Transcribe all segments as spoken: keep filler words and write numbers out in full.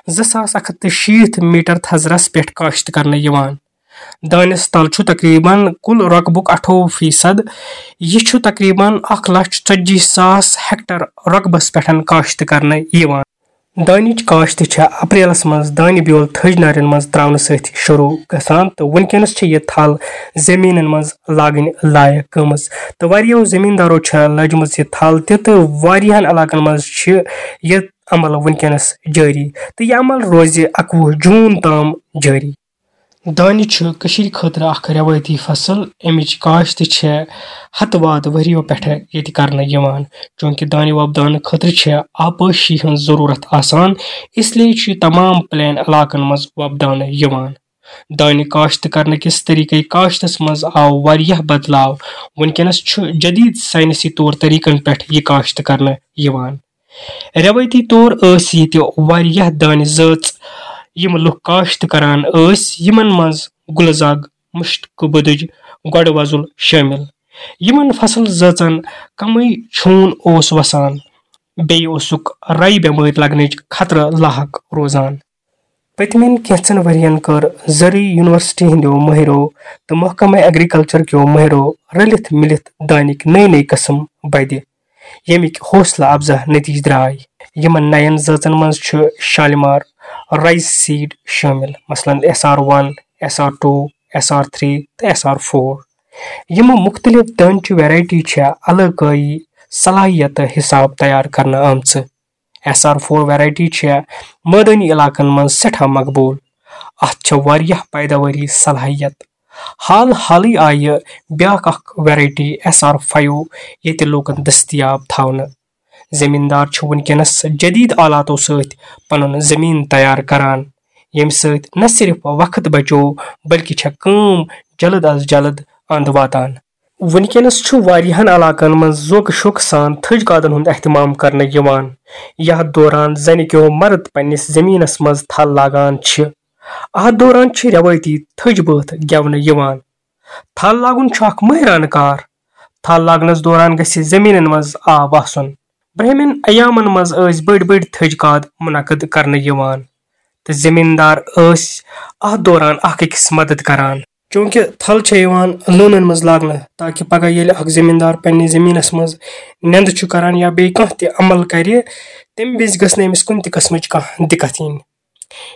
زٕ ساس اکھ ہتھ تہٕ شیٖتھ میٹر تھزرس پٮ۪ٹھ کاشت کرنہٕ یِوان۔ دانِس تل چھُ تقریباً کُل رۄقبُک اَٹھووُہ فیصد۔ یہِ چھُ تقریباً اکھ لچھ ژتجی ساس ہیکٹر رۄقبس پٮ۪ٹھ کاشت کرنہٕ یِوان۔ دانِچ کاشت چھےٚ اپریلس منٛز دانہِ بیول تھٔج نارٮ۪ن منٛز تراونہٕ سۭتۍ شروع گژھان تہٕ وُنکیٚنس چھِ یہِ تھل زٔمیٖنن منٛز لاگٕنۍ لایق گٔمٕژ۔ تہٕ واریاہو زٔمیٖندارو چھےٚ لٲجمٕژ یہِ تھل تہِ تہٕ واریاہن علاقن منٛز چھِ یہِ عمل وُنکیٚنس جٲری تہٕ یہِ عمل روزِ اَکوُہ جوٗن تام جٲری۔ دانہِ چھُ کٔشیٖرِ خٲطرٕ اکھ رٮ۪وٲیتی فصل۔ اَمِچ کاشت چھےٚ ہتہٕ واد ؤرِیو پٮ۪ٹھٕ ییٚتہِ کرنہٕ یِوان۔ چوٗنٛکہِ دانہِ وۄپداونہٕ خٲطرٕ چھےٚ آبپٲشی ہٕنٛز ضروٗرت آسان، اس لیے چھُ یہِ تمام پلین علاقن منٛز وۄپداونہٕ یِوان۔ دانہِ کاشت کرنہٕ کِس طریقے کاشتس منٛز آو واریاہ بدلاو۔ وُنکیٚنس چھُ جدید سائنسی طور طریقن پٮ۪ٹھ یہِ کاشت کرنہٕ یِوان۔ رٮ۪وٲیتی طور ٲسۍ ییٚتہِ واریاہ دانہِ زٲژ، یِم لُکھ کاشت کران ٲسۍ، یِمن منٛز گُلہٕ زگ، مُشتہٕ بُدٕج، گۄڈٕ وۄزُل شٲمِل۔ یِمن فصل زٲژن کمٕے چھوٗن اوس وسان، بیٚیہِ اوسُکھ رَیہِ بٮ۪مٲرۍ لگنٕچ خطرٕ لاحق روزان۔ پٔتمٮ۪ن کینٛژن ؤرین کٔر زرعی یونیورسٹی ہٕنٛدیو مٲہرو تہٕ محکمہ ایگریکلچر کیو مٲہرو رٔلِتھ مِلِتھ دانٕکۍ نٔوۍ نٔوۍ قٕسم بدِ، ییٚمِکۍ حوصلہٕ افزا نتیجہٕ درٛاے۔ یِمن نَین زٲژن منٛز چھُ شالمار رائس سیڈ شٲمِل، مثلاً S R one, S R two, S R three تہٕ S R four۔ یِمہٕ مُختٔلِف دانچہِ ویرایٹی چھےٚ علاقٲیی صلاحیتہٕ حساب تیار کرنہٕ آمژٕ۔ S R four ویرایٹی چھےٚ مٲدٲنی علاقن منٛز سٮ۪ٹھاہ مقبوٗل۔ اتھ چھےٚ واریاہ پیداوٲری صلاحیت۔ حال حالٕے آیہِ بیٛاکھ اکھ ویرایٹی S R five ییٚتہِ لوٗکن دٔستیاب تھاونہٕ۔ زٔمیٖندار چھِ وُنکیٚنس جدید آلاتو سۭتۍ پنُن زٔمیٖن تیار کران، ییٚمہِ سۭتۍ نہ صرف وقت بچوو، بلکہِ چھےٚ کٲم جلد از جلد اند واتان۔ وُنکیٚنس چھُ واریاہن علاقن منٛز ذوقہٕ شوقہٕ سان تھٔج کادن ہُنٛد اہتمام کرنہٕ یِوان، یتھ دوران زنہِ کیو مرد پننِس زٔمیٖنس منٛز تھل لاگان چھِ۔ اتھ دوران چھِ رٮ۪وٲیتی تھٔج بٲتھ گٮ۪ونہٕ یِوان۔ تھل لاگُن چھُ اکھ مٲہرانہٕ کار۔ تھل لاگنس دوران گژھِ زٔمیٖنن منٛز آب آسُن۔ برٛہمٮ۪ن ایامن منٛز ٲسۍ بٔڑۍ بٔڑۍ تھٔج کاد منعقد کرنہٕ یِوان تہٕ زٔمیٖندار ٲسۍ اتھ دوران اکھ أکِس مدد کران۔ چوٗنٛکہِ تھل چھےٚ یِوان لٲنن منٛز لاگنہٕ، تاکہِ پگاہ ییٚلہِ اکھ زٔمیٖندار پننِس زٔمیٖنس منٛز نٮ۪نٛدٕ چھُ کران یا بیٚیہِ کانٛہہ تہِ عمل کرِ، تَمہِ وِزِ گٔژھ نہٕ أمِس کُنہِ تہِ قٕسمٕچ کانٛہہ دِقت یِنۍ۔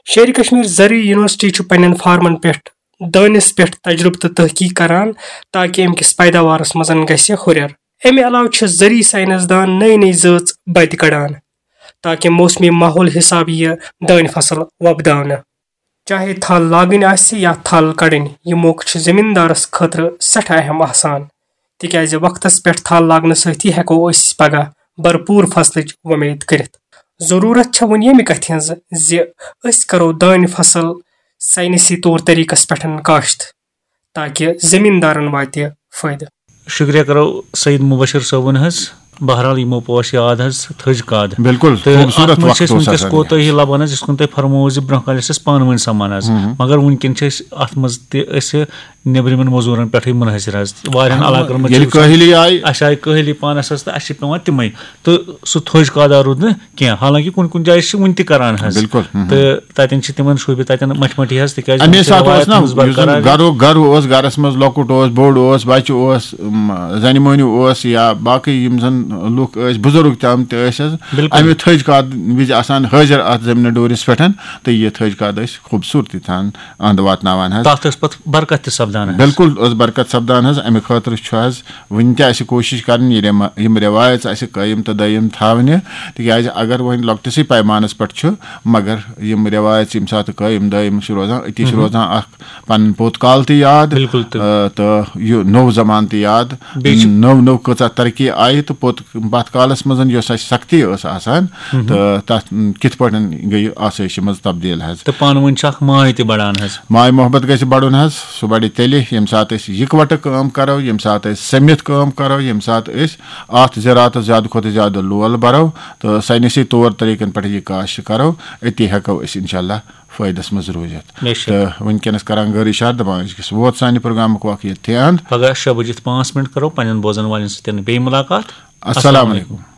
شیرِ کشمیر زرعی یونیورسٹی چھُ پننٮ۪ن فارمن پٮ۪ٹھ دٲنِس پٮ۪ٹھ تجربہٕ تہٕ تحقیق کران، تاکہِ اَمہِ کِس پیداوارس منٛز گژھِ ہُرٮ۪ر۔ اَمہِ علاوٕ چھِ زرعی ساینس دان نٔے نٔے زٲژ بدِ کڑان، تاکہِ موسمی ماحول حساب یِیہِ دانہِ فصل وۄپداونہٕ۔ چاہے تھل لاگٕنۍ آسہِ یا تھل کڑٕنۍ، یہِ موقعہٕ چھُ زٔمیٖندارس خٲطرٕ سٮ۪ٹھاہ اہم آسان، تِکیازِ وقتس پٮ۪ٹھ تھل لاگنہٕ سۭتی ہٮ۪کو أسۍ پگاہ بھرپوٗر فصلٕچ وۄمید کٔرِتھ۔ ضروٗرت چھےٚ وۄنۍ ییٚمہِ کتھِ ہٕنٛز زِ أسۍ کرو دانہِ فصل ساینسی طور طریقس پٮ۪ٹھ کاشت، تاکہِ زٔمیٖندارن واتہِ فٲیدٕ۔ شُکریہ کرو سعید مبشر صٲبُن حظ۔ بہرحال، یِمو پوش یاد حظ تھٔج کاد۔ بِلکُل، تہٕ خوٗبصوٗرت اَتھ منٛز چھِ وقت أسۍ اوس وٕنکیٚس آسان۔ کوتٲہی لبان حظ، یِتھ کٔنۍ تۄہہِ فرمووُ زِ برونٛہہ کالہِ ٲسۍ أسۍ پانہٕ ؤنۍ سَمان حظ، مگر وٕنکیٚن چھِ أسۍ اَتھ منٛز تہِ أسۍ نیٚبرِمٮ۪ن مٔزوٗرَن پٮ۪ٹھٕے مُنحصر حظ۔ واریاہَن علاقَن منٛز چھِ ییٚلہِ وٕچھان، کٲہِلی آیہِ۔ اَسہِ آیہِ کٲہِلی پانَس حظ، تہٕ اَسہِ چھِ پٮ۪وان تِمَے۔ تہٕ سُہ تھٔج کادا روٗد نہٕ کینٛہہ، حالانکہِ کُنہِ کُنہِ جایہِ چھِ وٕنہِ تہِ کَران حظ۔ بِلکُل۔ تہٕ تَتٮ۪ن چھِ تِمَن شوٗبہِ تَتٮ۪ن مَٹھِ مَٹھِ حظ، تِکیٛازِ اَمے تِم چھِ ساتہٕ اوس رٮ۪وایت نا، تھٲومٕژ یُس زَن برقرار۔ گَرُک گَرٕ اوس، گَرَس منٛز لۄکُٹ اوس، بوٚڑ اوس، بَچہٕ اوس، م، زَنہِ مٔہنیوٗ اوس یا باقٕے یِم زَن لُکھ ٲسۍ، بُزرٕگ تہِ آمٕتۍ ٲسۍ حظ، بِلکُل۔ اَمہِ تھٔج کاد وِزِ آسان حٲضِر اَتھ زٔمیٖنہِ ڈوٗرِس پٮ۪ٹھ، تہٕ یہِ تھٔج کاد ٲسۍ خوٗبصوٗرتی تھان اَنٛد واتناوان حظ۔ تَتھ ٲس پَتہٕ برکت تہِ سَپدان حظ۔ بِلکُل ٲس برکت سَپدان حظ۔ اَمہِ خٲطرٕ چھُ حظ وٕنہِ تہِ اَسہِ کوٗشِش کَرٕنۍ، یہِ رٮ۪ما-، یِم رٮ۪وایَژ اَسہِ قٲیِم تہٕ دٲیِم تھاونہِ، تِکیٛازِ اگر وۄنۍ لۄکٹِسٕے پیمانَس پٮ۪ٹھ چھُ، مگر یِم رٮ۪وایَژ ییٚمہِ ساتہٕ قٲیِم دٲیِم چھِ روزان، أتی چھِ روزان اَکھ پَنُن پوٚت کال تہِ یاد، بِلکُل تہٕ۔ آ، تہٕ یہِ نوٚو زمانہٕ تہِ یاد، بیٚیہِ چھُ نٔو نٔو کۭژاہ ترقی آیہِ تہٕ پوٚت پَتھ کالَس منٛز یۄس اَسہِ سختی ٲس آسان، تہٕ تَتھ کِتھ پٲٹھۍ گٔیہِ آسٲیشہِ منٛز تبدیٖل حظ۔ تہٕ پانہٕ ؤنۍ چھُ اَکھ ماے تہِ بڑان حظ۔ ماے محبت گژھِ بڑُن حظ، سُہ بڑِ تیٚلہِ ییٚمہِ ساتہٕ أسۍ یِکوَٹہٕ کٲم کرو، ییٚمہِ ساتہٕ أسۍ سٔمِتھ کٲم کرو، ییٚمہِ ساتہٕ أسۍ اَتھ زِراعتَس زیادٕ کھۄتہٕ زیادٕ لول بَرو تہٕ ساینسی طور طریٖقَن پٮ۪ٹھ یہِ کاشت کَرو، أتی ہٮ۪کو أسۍ اِنشاء اللہ فٲیدَس منٛز روٗزِتھ۔ بے شک۔ تہٕ وٕنکیٚنَس کَران گٲر اِشارٕ، دَپان أسۍ گژھِ ووت سانہِ پروگرامُک وقت ییٚتھٕے اَنٛد۔ پگاہ شےٚ بجِتھ پانٛژھ منٹ کَرو پنٛنٮ۪ن بوزَن والٮ۪ن سۭتۍ بیٚیہِ مُلاقات۔ السلام علیکم۔